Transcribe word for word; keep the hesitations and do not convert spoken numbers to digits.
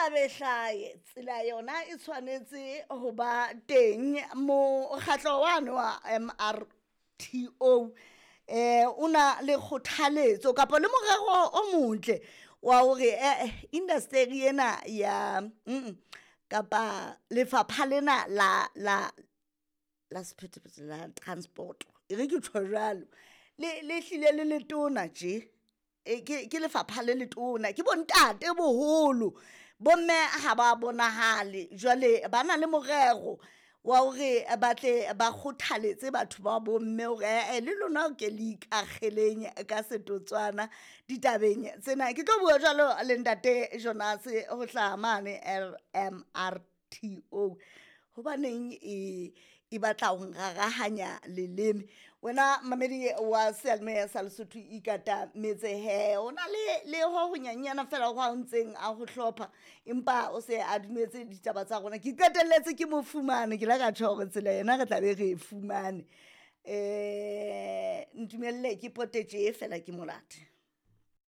Hlabe hlaye tsela yona e tshwanetse ho ba teng. Mokgatlo wane wa M R T O eh o na le kgothaletso kapa le morero o motle wa hore eh industry ena ya mm kapa lefapha lena la la la sephethephethe la transport, e re ke tjho jwalo, le le hlile le letona tje. E ke ke lefapha le letona, ke bontate boholo, bomme ha ba bonahale. Jwale ba na le morero wa hore ba tle ba kgothaletse batho ba bomme hore ae le lona ke le ikakgeleng ka setotswana ditabeng tsena. Ke tlo bua jwalo le ntate Jonas ho hlaha mane L M R T O. Hobaneng e e batla ho rarahanya leleme wena mamedi wa seyalemoya sa Lesotho ikata metse he o na le le ho ho nyenyana fela ho a ntseng a ho hlopha, empa o se a dumetse ditaba tsa rona. Ke qetelletse ke mo fumane, ke la ka tjho hore tsela yena re tla be re e fumane. Um ntumelle ke pote tje fela ke molate.